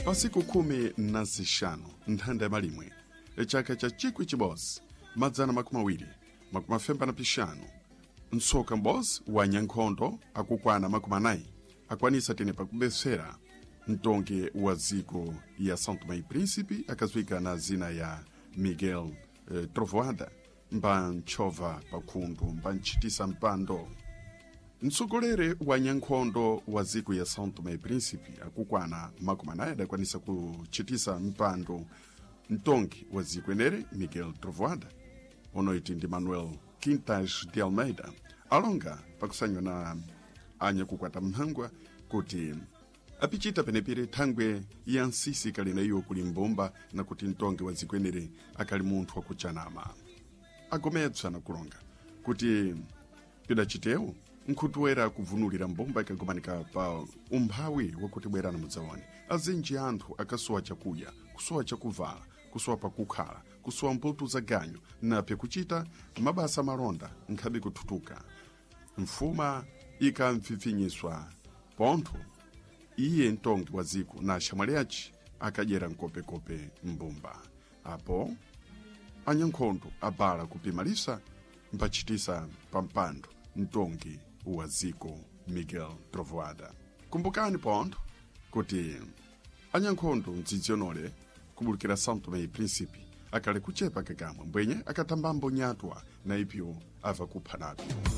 Pasiku 15 nthanda ya malimwe chaka cha 1925, mtsoka m'bodzi wa nyankhondo akukwana 40 akwanisa tene pakubesera mtongi wa dziko ya São Tomé e Príncipe, akadziwika na zina ya Miguel Trovoada, mbantchova pakhundu mbantchitisa mpando. Mtsogoleri wa nyankhondo wa dziko ya São Tomé e Príncipe akukwana 40 adakwanisa kuchitisa mpando mtongi wa dziko enere Miguel Trovoada, onoiti ndi Manuel Quintas de Almeida, alonga pakusanywa na anyakukwata mphangwa kuti apichita penepere thangwe ya nsisi kalina iyo kuli mbumba na kuti mtongi wa dziko enere akali munthu wakuchanama. Agometswa na kulonga kuti pidachitewo nkhutuwera kuvunulira mbumba ikagomanika pa umphawi wakuti bwerana mudzaone azinji anthu akasowa chakudya, kusowa chakuvala, kusowa pakukhala, kusowa mputu za ganyu napye kuchita mabasa malonda nkhabe kuthutuka mfuma ikamphiphinyiswa pontho iye mtongi wa dziko na axamwali aci akadyera mkopekope mbumba. Apo anyankhondo abala kupima lisa mpachitisa pampando mtongi wa dziko Miguel Trovoada. Kumbukani pontho kuti anyankhondo mdzidzionole kubulukira São Tomé e Príncipe akali kuchepa kakamwe mbwenye akathambambo nyatwa na ipyo ava kupha napyo.